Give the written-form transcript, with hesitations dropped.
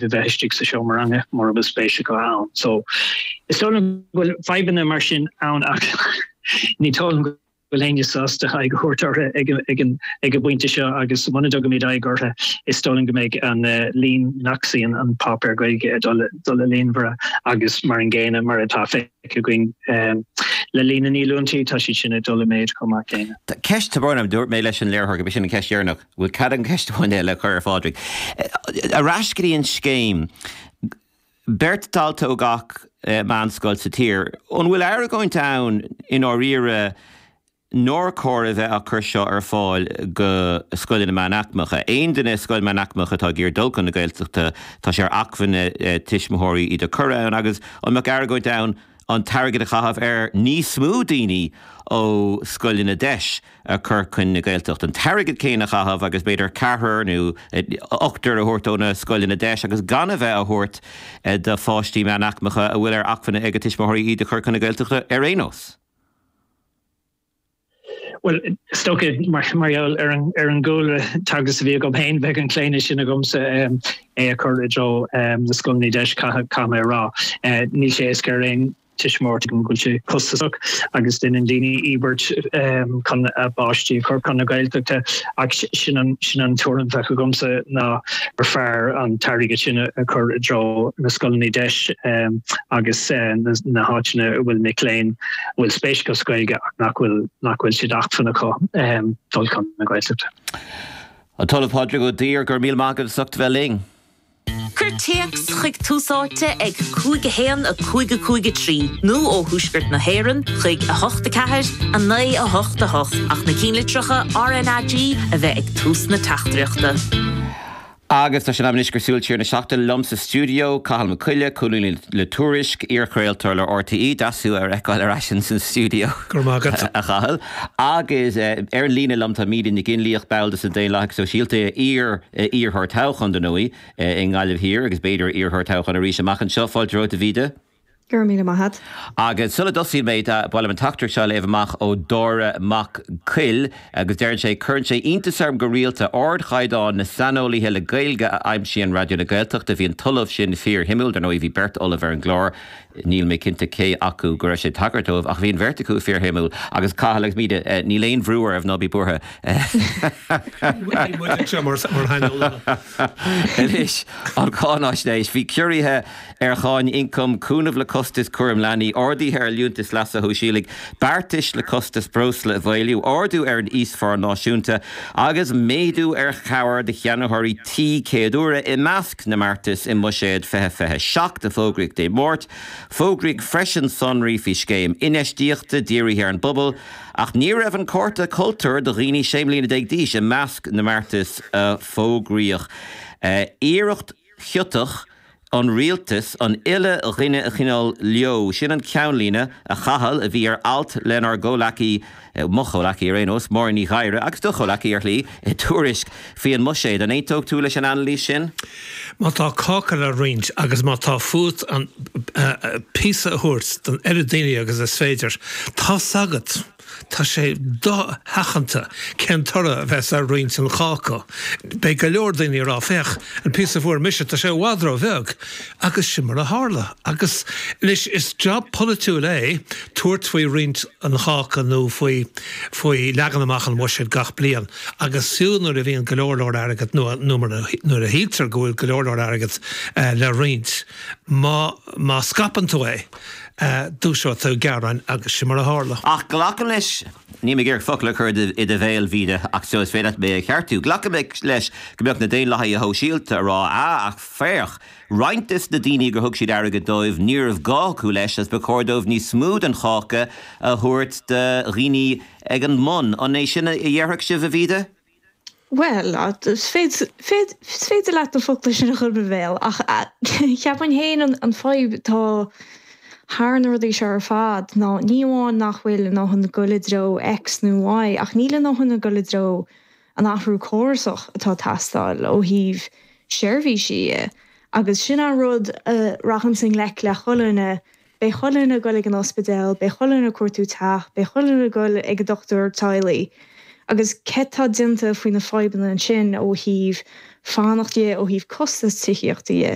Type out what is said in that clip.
a bheith istigh sa seomra ranga mura bhfuil spéis acu ann. So is dóigh liom go bhfuil fadhbanna mar sin ann ach ní dóigh liom go bhfuil éinne sásta aghaidh a thabhairt orthu ag an ag an bpointe seo agus muna dtugaimid aghaidh orthu is dóigh liom go mbeidh an líon nach suíonn an páipéar Gaeilge ag dul dul i líonmhaire agus mar an gcéanna mar atá feicthe againn le líon na ndíolúintí tá siad sin ag dul i méid chomh maith céanna. Ceist, tá brón orm, dúirt mé leis an léiritheoir gurb í sin an cheist dheireanach. Bhfuil cead agam ceist amháin eile a chur ar Phádraig? Ar ais go dtí an scéim. Beirt dalta ó gach meánscoil sa tír. An bhfuil argóint ann i ndáiríre nár chóir a bheith á cur seo ar fáil go scoileanna meánaicmeacha? Aon duine i scoil meánaicmeach atá ag iarraidh dul chun na Gaeltachta, tá sé ar acmhainn tuismitheoirí iad a chur ann agus an mbeadh argóint ann an t-airgead a chaitheamh ar níos mó daoine ó scoileanna deis a chur chun na Gaeltachta, an t-airgead céanna a chaitheamh agus b'fhéidir ceathrar nó ochtar a thabhairt ó na scoileanna deis agus gan a bheith á thabhairt do pháistí meánaicmeacha a bhfuil ar acmhainn ag a tuismitheoirí iad a chur chun na Gaeltachta ar aon nós. Bhuel, is dócha mar gheall ar an ar an gcúlra teagaisc a bhí agam féin, bheadh an claonadh sin agamsa é a chur i dtreo na scoileanna deis, caithfidh mé a rá. Níl sé éasca ar aon tuismitheoir go bhfuil sé costasach agus déanann daoine íobairt chun a bpáistí a chur chun na Gaeltachta ach sin an sin an tuairim a bheadh agamsa ná gur fearr an t-airgead sin a chur i dtreo na scoileanna deis agus na háiteanna a bhfuil mic léinn a bhfuil spéis acu sa Ghaeilge ach nach bhfuil nach bhfuil sé d'acmhainn acu dul chun na Gaeltachta. An tOllamh Pádraig Ó Duibhir, go raibh míle maith agat as ucht a bheith linn. Cuir téacs chuig Tús Áite ag 5 1 5 5 3 nó ó Thuaisceart na hÉireann chuig 8 4 9 8 8 ach na cinnlitreacha RnaG a bheith ag tús na teachtaireachta. Agus tá sé in am anois gur súil siar na seachtaine liom sa stiúideo, Cathal Mac Coille, colúnaí le Tuairisc, iarchraoltóir le RTÉ, deas thú a fheiceáil ar ais ins an stiúideo, Go raibh maith agat. a Chathail. Agus ar an líne liom tá Míde Nic Fhionnlaoich, ball de na Daonlathaigh Sóisialta, iar iarrthóir toghcháin, dar ndóigh, i nGaillimh Thiar agus b'fhéidir iarrthóir toghcháin arís amach anseo. Fáilte romhat, a Mhíde. Go raibh míle maith agat. Agus sula dtosaíonn mé, ba mhaith liom an teachtaireacht seo a léamh amach ó Dáire Mac Coill agus deireann sé, Cuireann sé iontas orm go rialta ardchaighdeán na saineolaithe le Gaeilge a aimsíonn Raidió na Gaeltachta. Bhí an t-ollamh sin fíorshuimiúil. Dar ndóigh, bhí beirt ollamh ar an gclár. Níl mé cinnte cé acu go raibh sé ag tagairt dóibh ach bhí an bheirt acu fíorshuimiúil. Agus Cathal agus Míde, níl aon bhrú oraibh, ná bí buartha. Níl muid anseo mar shaineolaithe. Anois, an cháinaisnéis. Bhí ciorruithe ar cháin ioncaim, cúnamh le costas cúram leanaí, arduithe ar liúntais leasa shóisialaigh, beartais le costas breosla a mhaolú, ardú ar an íosphá náisiúnta agus méadú ar chabhair do cheannaitheoirí tí céaduaire i measc na mbeartas i mBuiséad 2027 a fógraíodh Dé Máirt. Fógraíodh freisin sonraí faoi scéim infheistíochta dírithe ar an bpobal ach ní raibh an cárta cultúir do dhaoine 16 mbliana d'aois i measc na mbeartas a fógraíodh. Iarracht chiotach an rialtas an uile dhuine a choinneáil leo. Sin an ceannlíne, a Chathail, a bhí ar alt lenár gcomhleacaí, mo chomhleacaí ar aon nós, Máirín Ní Ghadhra, agus do chomhleacaí ar shlí, i dTuairisc faoi an mbuiséad. An aontódh tú leis an anailís sin? Má tá cáca le roinnt agus má tá fút an píosa a thabhairt don oiread daoine agus is féidir, tá's agat. Tá sé dosheachanta cén toradh a bheas ar roinnt an cháca. Beidh go leor daoine ag rá, 'Féach, an píosa a fuair mise, tá sé i bhfad ró-bheag. Agus sin mar a tharla. Agus anois, is jab polaitiúil é tabhairt faoi roinnt an cháca nó faoi faoi leagan amach an bhuiséid gach bliain. Agus fiú nuair a bhíonn go leor leor airgead, nó nuair a shíltear go bhfuil go leor leor airgead le roinnt, má má scaipeann tú é, Dúiseoidh tú gearáin agus sin mar a tharla. Ach glacaim leis, níl mé ag iarraidh focal a chur i do bhéal, Mhíde, ach so is féidir leat mé a cheartú, glacaim leis go mbeadh na Daonlathaithe Shóisialta a rá, ah, ach féach, roinnt des na daoine gur thug siad airgead dóibh, ní raibh gá acu leis agus ba chóir dóibh níos mó den cháca a thabhairt do dhaoine ag an mbun. An é sin a dhéarfadh sibh, a Mhíde? Bhuel, is féidir leat na focla sin a chur i mo bhéal, ach cheapfainn féin an fadhb atá thar na rudaí seo ar fad ná ní amháin nach bhfuil a ndóthain ag dul i dtreo X nó Y, ach níl a ndóthain ag dul i dtreo an athrú córasach atá ag teastáil ó thaobh seirbhísí dhe. Agus sin an rud a rachainnse i ngleic le chuile dhuine Beidh chuile dhuine ag dul ag an ospidéal, beidh chuile dhuine ag cuartú teach, beidh chuile dhuine ag dul ag an dochtúir teaghlaigh. Agus céard tá déanta faoi na fadhbanna ansin ó thaobh fanacht dhe, ó thaobh costas tithíochta dhe?